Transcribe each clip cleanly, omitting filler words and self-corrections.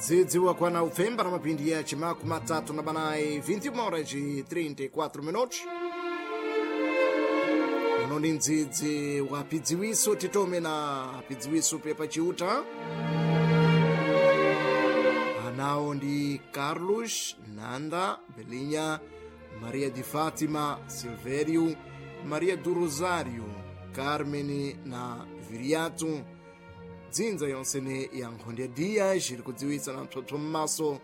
Ndzidzi wakwana upfemba na mapindi ya chimaku matatu na banayi 21 horas e 34 minutos. Uno ndi ndzidzi wa pidziwiso, titome na pidziwiso pepa chiuta. Anawo ndi Carlos Nanda Belinha, Maria de Fátima Silvério, Maria do Rosário, Carmen na Viriato. Dzinza yonsene ya nkhonde Dias iri kudziwitsa na mpsopso m'maso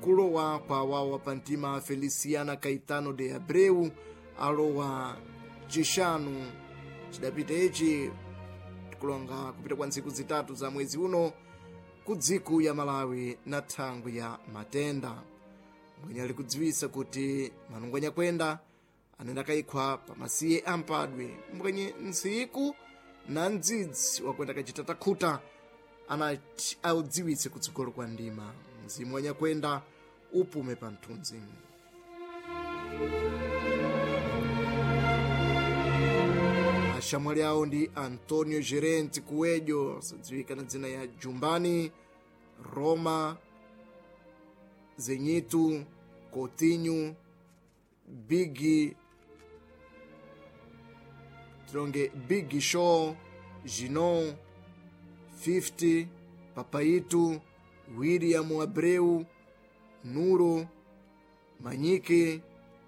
kulowa kwa wawa pantima Feliciana Caetano de Abreu, alowa chixanu chidapita ichi, tikulonga kupita kwa ntsiku zitatu za mwezi uno, ku dziko ya Malawi na thangwi ya matenda. Mwenye ali kudziwitsa kuti manungo anyakwenda anenda kayikhwa pamasiye ampadwe mbwenye ntsiku na mdzidzi wakwenda kachita takhuta anati audziwitse kutsogolo kwa ndima. Mzimu wanyakwenda upume pa mthunzi. Ashamwali awo ndi Antonio Gerente Coelho, sadziwika na dzina ya Jumbani Roma, Zenito Coutinho, Big tilonge, Big Show, Ginon 50, Papaito, William Abreu, Nuro Manyike,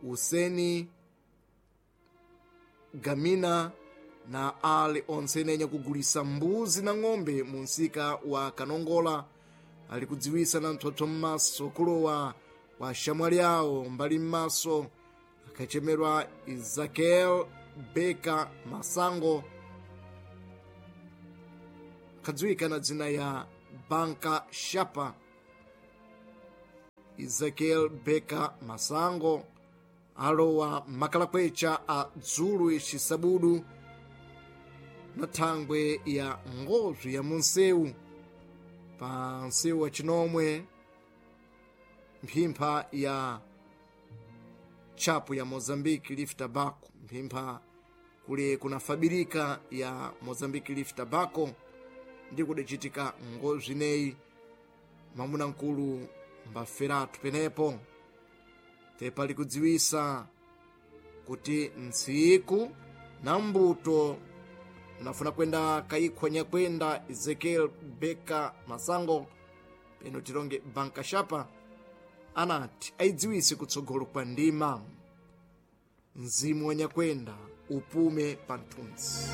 Useni Gamina na ali onse nenya kugulisa mbuzi na ng'ombe mu msika wa Kanongola. Ali kudziwisa na mtsotso m'maso kulowa kwa shamwali awo mbali m'maso akachemerwa Ezekiel Beka Masango, akadziwika na dzina ya Banka Shapa. Ezekiel Beka Masango alowa makalakwecha a dzulu xisabudu na thangwe ya ngozwi ya munsewu pa nsewu wa chinomwe, mphimpha ya chapu ya Mozambique Leaf Tobacco, mphimpha kule kuna fabirika ya Mozambique Leaf Tobacco, ndi kudachitika ngozwi neyi. Mwamuna mkulu mbaferatu penepo. Tepali kudziwisa kuti ntsiku na mbuto nafuna kwenda kayikhwa nyakwenda Ezekiel Beka Masango, peno tilonge Banka Shapa, anati ayidziwise kutsogolo kwa ndima. Mzimu wa nyakwenda upume pa mthunzi.